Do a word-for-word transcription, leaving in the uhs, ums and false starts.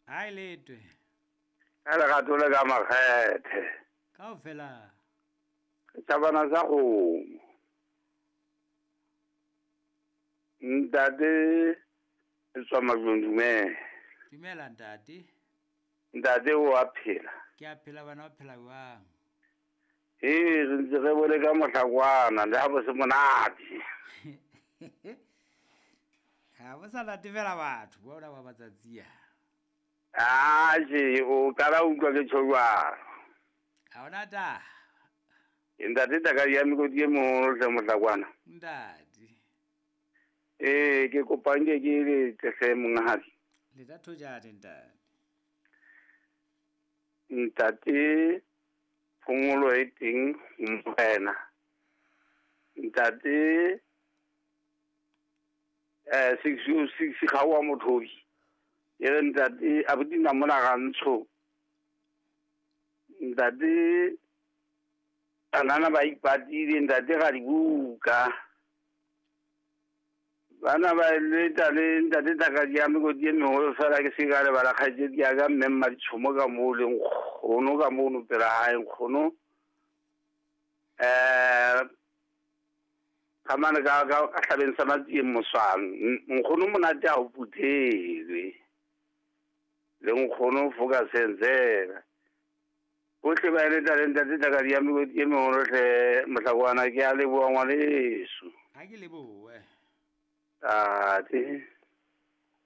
Ha letwe. Ka lerato le ka makgethe. Kaofela. Setjhabana sa kgomo. Ntate tswa Matlong, dumela. Dumela ntate. Ntate o a phela. Ke a phela bana o phela jwang? Ee, re ntse re bole ka mohlakwana le ha bo se monate. Ha bo sa natefela batho bona ba matsatsi a. Atjhe, o qala o utlwa ke tjho jwalo. Ha hona taba. Ntate Thakadi ya mekoti e moholo hle mohlakwana. Ntate. Ee, ke kopa nke ke letse hle monghadi. Le tla thojane ntate. Ntate phomolo e teng morena. Ntate eh six oh six ga wa mothobi. E re ntate abuti nna mona ga ntsho. Ntate banana ba ipatile ntate ga dibuka. Bana ba leta le ntate Thakadi ya mekoti e meholo fela ke se ka lebala kgaitsedi ya ka mme Mmaditshomo ka moo le nkgono ka mono pela hae nkgono. Eh ka mane ka ka hlabeng sa Matsieng Moswang nkgono monate ha o puthelwe. Le nkgono foka senzela. Bohle ba eleta le ntate Thakadi ya mekoti e meholo hle mohlakwana ke a leboha ngwaneso. Ha ke lebohe. Tate.